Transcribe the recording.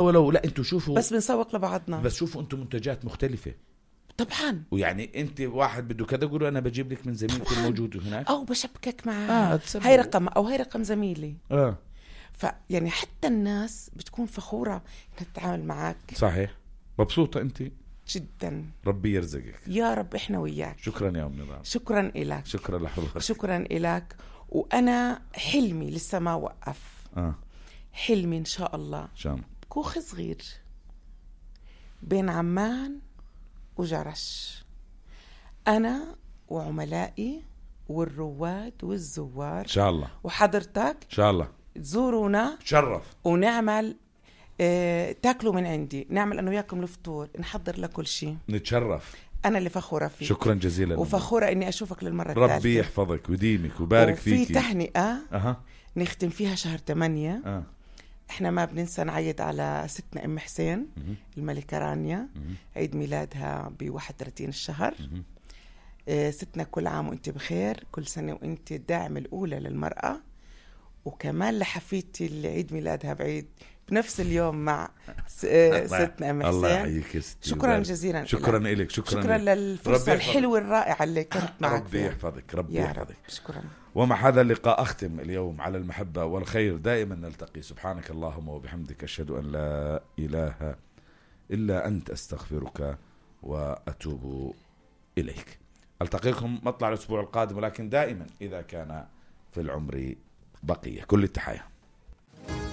ولو لا انتوا شوفوا بس بنسوق لبعضنا. بس شوفوا انتوا منتجات مختلفة طبعا. ويعني انت واحد بده كذا يقولوا انا بجيب لك من زميلك الموجود هناك او بشبكك معاه هاي رقم او هاي رقم زميلي. فيعني حتى الناس بتكون فخورة انها تتعامل معك. صحيح. مبسوطة انت جدا. ربي يرزقك يا رب. احنا وياك. شكرا يا أم نضال. شكرا إلك. شكرا لحضرتك. شكرا إلك. وانا حلمي لسه ما وقف. حلمي ان شاء الله كوخ صغير بين عمان وجرش، انا وعملائي والرواد والزوار ان شاء الله، وحضرتك ان شاء الله تزورونا شرف ونعمل تاكلوا من عندي، نعمل أنا وياكم الفطور، نحضر لكل شيء، نتشرف. أنا اللي فخورة فيك. شكرا جزيلا. وفخورة إني أشوفك للمرة الثالثة. ربي يحفظك ويديمك وبارك فيك. وفي تهنئة نختم فيها شهر 8. إحنا ما بننسى نعيد على ستنا أم حسين الملكة رانيا، عيد ميلادها ب31 الشهر. ستنا كل عام وإنت بخير، كل سنة وإنت الداعم الأولى للمرأة. وكمان لحفيدتي اللي عيد ميلادها بعيد بنفس اليوم مع ستنا أم حسين. الله يحييك يا ستي. شكرا جزيلا. شكرا لك. شكرا للفرصة الحلوة الرائعة اللي كنت معك. ربي يحفظك. ربي يحفظك. شكرا. ومع هذا اللقاء أختم اليوم على المحبة والخير دائما نلتقي. سبحانك اللهم وبحمدك، أشهد أن لا إله إلا أنت، أستغفرك وأتوب إليك. ألتقيكم مطلع الأسبوع القادم، ولكن دائما إذا كان في العمر بقية. كل التحية.